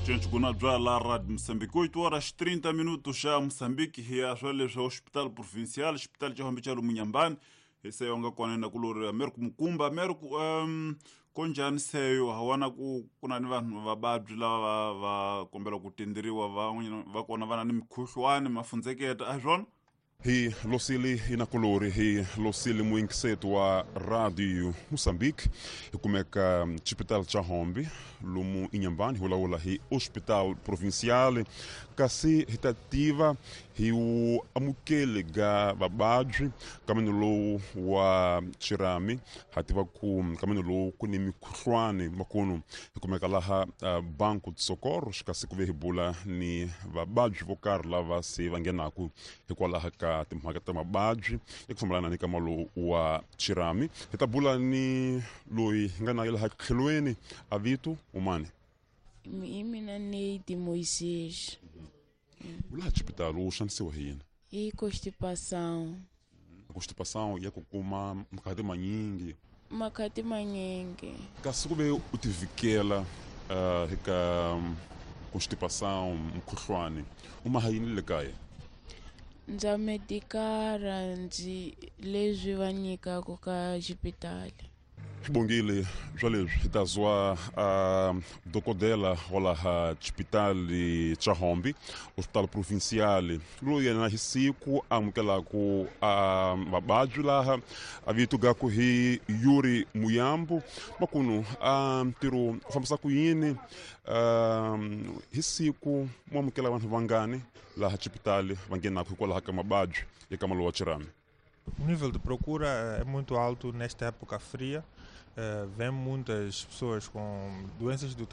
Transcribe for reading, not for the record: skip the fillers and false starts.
Cinco bya la Rádio Moçambique, 8 horas 30 minutos xa Moçambique, hi ya swa leswi Hospital Provincial, Hospital xa Hombe xa Lumunyambani, hi seyo nga kona na kulori Americo Mukumba. Americo, konjhani seyo hawana ku na ni vanhu vababyi lava va kombela ku tenderiwa, van'wanyana va kona va na ni mikhuhlwani mafundzeketa, a hi swona? Hi losili inakulori, hi losili muinkiseto wa Radio Moçambique, hi kumeka Hospital cha Hombe lomu Inhambane, hi vulavula hi Hospital Provincial, kasi hi ta tiva hi wu amukeli ga vababyi kameno lowu wa chirami. Ha tiva ku kameno lowu ku ni mikhuhlwani makunu, hi kumeka laha Banco de Socorro, kasi ku ve hi bula ni vababyi vo karhi lava se va nghenaku hikwalaho ka timhaka ta mababyi eku fambelana ni kama lowu wa chirami. Hi ta bula ni loyi hi nga na ye laha tlhelweni, a vito umani? Hi mina Neide Moisés. Laha xipitali u xanisiwa hi yini? Hi constipação. Constipação ya ku kuma makhati manyingi? Makhati manyingi. Kasi ku ve u tivikela eka constipação, mukhuhlwani, u maha yini le kaya? Ndza medikara, ndzi leswi va nyikaka ka xipitali. Xibongile swa leswi hi ta zwa dokodela wa laha xipitali cha Hombe, Hospital Provincial, loyi yena hi siku amukelaku vababyi laha, a vito gaku hi Yuri Muyambu. Makunu ntirho u fambisa ku yini? Hi siku mu amukela vanhu vangani laha xipitali va nghenaku hikwalaho ka mababyi eka malo wa chirami? O nível de procura é muito alto nesta época fria. Vem muitas pessoas com doenças do